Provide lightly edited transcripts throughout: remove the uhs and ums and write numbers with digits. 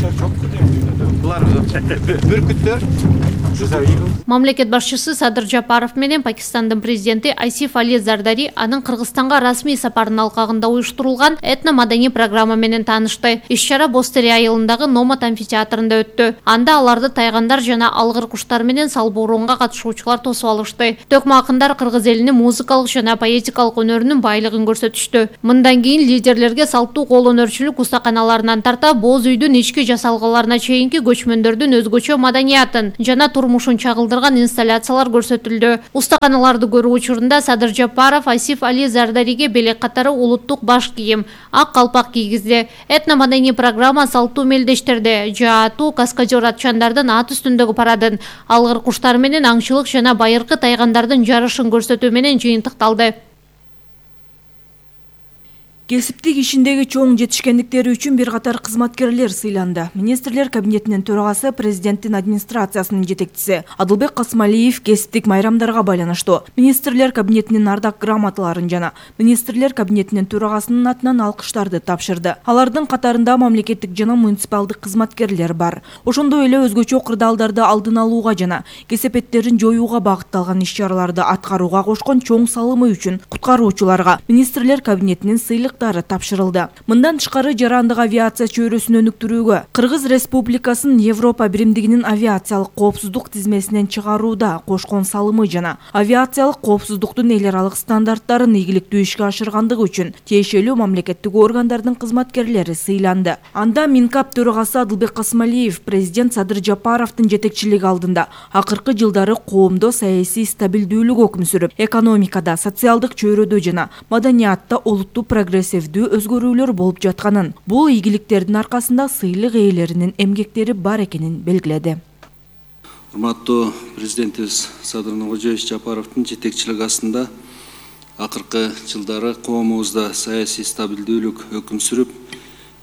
Булар бүркүттөр. Мамлекет башчысы Садыр Жапаров менен Пакистандын президенти Асиф Али Зардари анын Кыргызстанга расмий сапарынын алкагында уюштурулган этно-маданий программа менен таанышты. Иш-чара Бостери айылындагы Номат амфитеатрында өттү. Анда аларды тайгандар жана алгыр куштар менен салбууруунга катышуучулар тосуп алышты. Төкмө акындар кыргыз элинин музыкалык жана поэтикалык өнөрүнүн байлыгын көрсөтүштү. Мындан кийин лидерлерге салттуу кол өнөрчүлүк устаканаларынан тарта боз үйдүн ички жасалгаларына чейинки көчмөндөрдүн өзгөчө маданиятын жана турмушун чагылдырган инсталляциялар көрсөтүлдү. Устаканаларды көрүү учурунда Садыр Жапаров Асиф Али Зардариге белек катары улуттук баш кийим, ак калпак кийгизди. Этно-маданий программа салттуу мелдештерди, жаатуу каскадер атчандардын ат үстүндөгү парадын, алгыр куштар менен аңчылык жана байыркы тайгандардын жарышын көрсөтүү менен жыйынтыкталды. Кесиптик ишиндеги чоң жетишкендиктери үчүн бир катар кызматкерлер сыйланды. Министрлер кабинетинин төрагасы, президенттин администрациясынын жетекчиси Адылбек Касмалиев кесиптик майрамдарга байланыштуу Министрлер кабинетинин ардак грамоталарын жана Министрлер кабинетинин төрагасынын атынан алкыштарды тапшырды. Алардын катарында мамлекеттик жана муниципалдык кызматкерлер бар. Ошондой эле өзгөчө кырдаалдарды алдын алууга жана кесепеттерин жоюуга багытталган иш-чараларды аткарууга кошкон чоң салымы үчүн куткаруучуларга Министрлер кабинетинин сыйлык тапшырылды. Мындан тышкары жарандык авиация чөйрөсүн өнүктүрүүгө, Кыргыз Республикасынын Европа биримдигинин авиациялык коопсуздук тизмесинен чыгарууда кошкон салымы жана авиациялык коопсуздуктун эл аралык стандарттарын ийгиликтүү ишке ашыргандыгы үчүн тиешелүү мамлекеттик органдардын кызматкерлери сыйланды. Анда Минкап төрагасы Адылбек Касмалиев президент Садыр Жапаровдун жетекчилиги алдында акыркы жылдары коомдо саясий стабилдүүлүк өкүм сүрүп, экономикада, социалдык чөйрөдө жана маданиятта олуттуу прогрессивдүү өзгөрүүлөр болуп жатканын, бул ийгиликтердин аркасында сыйлык ээлеринин эмгектери бар экенин белгиледи. Урматтуу президентибиз Садыр Нуркожоевич Жапаровдун жетекчилиги астында акыркы жылдары коомубузда саясий стабилдүүлүк өкүм сүрүп,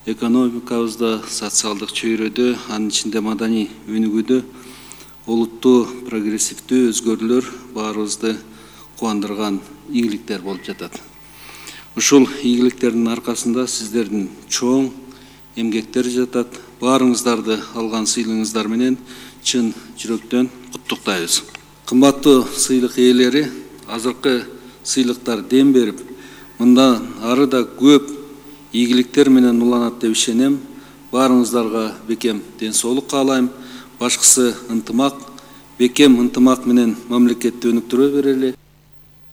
экономикабызда, социалдык чөйрөдө, анын ичинде маданий өнүгүүдө олуттуу прогрессивдүү өзгөрүүлөр баарыбызды кубандырган ийгиликтер болуп жатат. Ушул ийгиликтердин аркасында сиздердин чоң эмгектери жатат. Баарыңыздарды алган сыйлыгыңыздар менен чын жүрөктөн куттуктайбыз. Кымбаттуу сыйлык ээлери, азыркы сыйлыктар дем берип, мындан ары да көп ийгиликтер менен уланат деп ишенем. Баарыңыздарга бекем ден соолук каалайм. Башкысы ынтымак, бекем ынтымак менен мамлекетти өнүктүрө берели.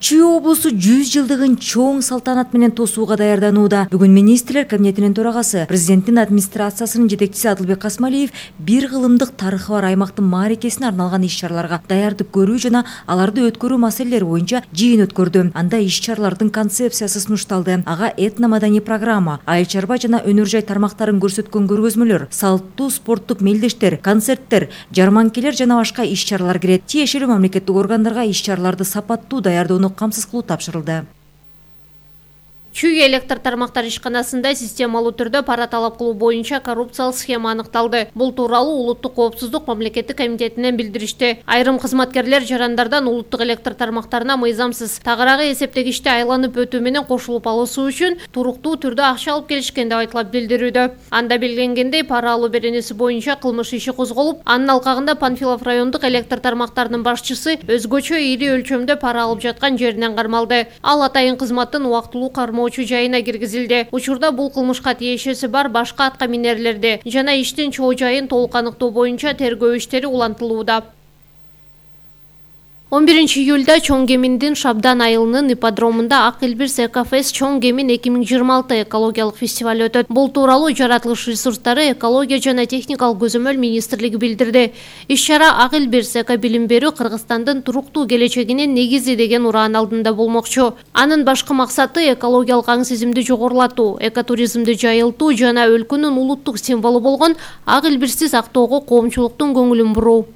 Чүй облусу 100 жылдыгын чоң салтанат менен тосууга даярданууда. Бүгүн министрлер кабинетинин төрагасы, президенттин администрациясынын жетекчиси Адылбек Касмалиев бир кылымдык тарыхы бар аймактын мааракесине арналган иш-чараларга даярдык көрүү жана аларды өткөрүү маселелери боюнча жыйын өткөрдү. Анда иш-чаралардын концепциясы сунушталды. Ага этно-маданий программа, айыл чарба жана өнөр жай тармактарын көрсөткөн көргөзмөлөр, салттуу спорттук мелдештер, концерттер, жарманкелер жана башка иш-чаралар кирет. Тиешелүү мамлекеттик органдарга иш-чараларды сапаттуу даярдоону камсыз кылуу тапшырылды. Чүй электр тармактар ишканасында системалуу түрдө пара талап кылуу боюнча коррупциялык схема аныкталды. Бул тууралуу Улуттук коопсуздук мамлекеттик комитетинен билдиришти. Айрым кызматкерлер жарандардан улуттук электр тармактарына мыйзамсыз тагыраагы эсептегичти айланып өтүү менен кошулуп алуусу үчүн туруктуу түрдө акча алып келишкен деп айтылып билдирүүдө. Анда белгиленгендей пара алуу беренеси боюнча кылмыш иши козголуп, анын алкагында Панфилов райондук электр тармактарынын башчысы өзгөчө ири өлчөмдө пара алып жаткан жеринен кармалды. Ал атайын кызматтын убактылуу кармоочу жайына киргизилди. Учурда бул кылмышка тиешеси бар башка атка минерлерди жана иштин чоо жайын толук аныктоо боюнча тергөө иштери улантылууда. 11 июлда Чоң Кеминдин Шабдан айылынын ипподромунда Ак Элбирс Экофест Чоң Кемин 2026 экологиялык фестиваль өтөт. Бул тууралуу жаратылыш ресурстары, экология жана техникалык көзөмөл министрлиги билдирди. Иш-чара Ак Элбирс эко билим берүү Кыргызстандын туруктуу келечегинин негизи деген ураан алдында болмокчу. Анын башкы максаты экологиялык аң сезимди жогорулатуу, экотуризмди жайылтуу жана өлкөнүн улуттук символу болгон Ак Элбирсти сактоого коомчулуктун көңүлүн буруу.